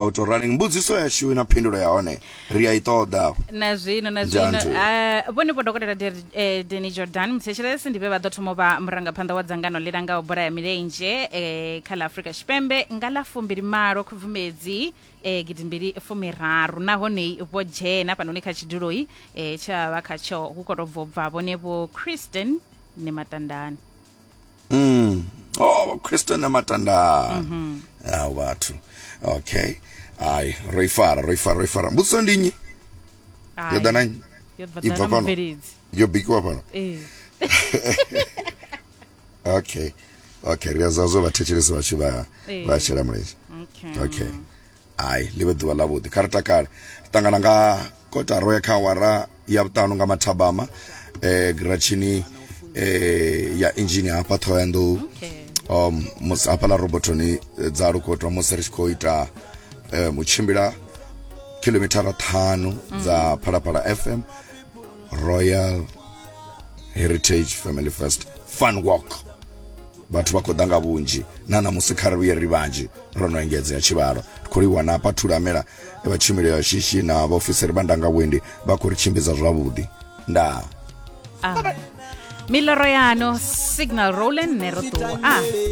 Auto running mbudziso yashu na phindulo ya hone ri a i ṱoḓa. Na zwino na zwino Njantu. Vhone vho dokotela Danny Jordan muthetshelesi ndi vhe vha ḓo thoma u vha murangaphanḓa wa dzangano ḽi langaho bola ya milenzhe kha ḽa Afrika Tshipembe nga ḽa 20 Khubvumedzi gidimbili fumiraru, nahone vho dzhena hafhanoni kha tshiduloi tshe vha vha khatsho hu khou tou bva u bva vhone vho Christian Nematandani. Oh, Christian Matanda. Ah, vhathu. Okay. Ai, ro ifara, ro ifara, ro ifara. Mbudziso ndi nnyi? Yo ḓa na nnyi? Yo bva I bva ḓa na fhano? mubveledzi. Yo bikiwa fhano. Ee. Okay. Okay, ri a zwa vhathetshelesi vhashu vha Ee. vha shela mulenzhe. Okay. Okay. Ai, ḽi vhe ḓuvha ḽavhuḓi. Kha ri takale. Ri ṱangana nga kotara ya kha awara ya vhuṱanu nga mathabama giratshini ya inzhini hafha Ṱhohoyanḓou. Okay. Musi hafhaḽa robotoni dza Lukotwa musi ri tshi khou ita u tshimbila khilomithara ṱhanu dza Phalaphala FM Royal Heritage Family First Fun Walk. Vhathu vha khou ḓa nga vhunzhi na ṋamusi, kha ri vhuye ri vhanzhi, ro no engedzea tshivhalo. Ri khou livhuwa na hafha Thulamela vha tshumelo ya shishi na vhaofisiri vha ndanga vhuendi vha khou ri tshimbidza zwavhuḓi. Ndaa. Ah. Miloro yano Signal Roland ne ro ṱuwa. Ah.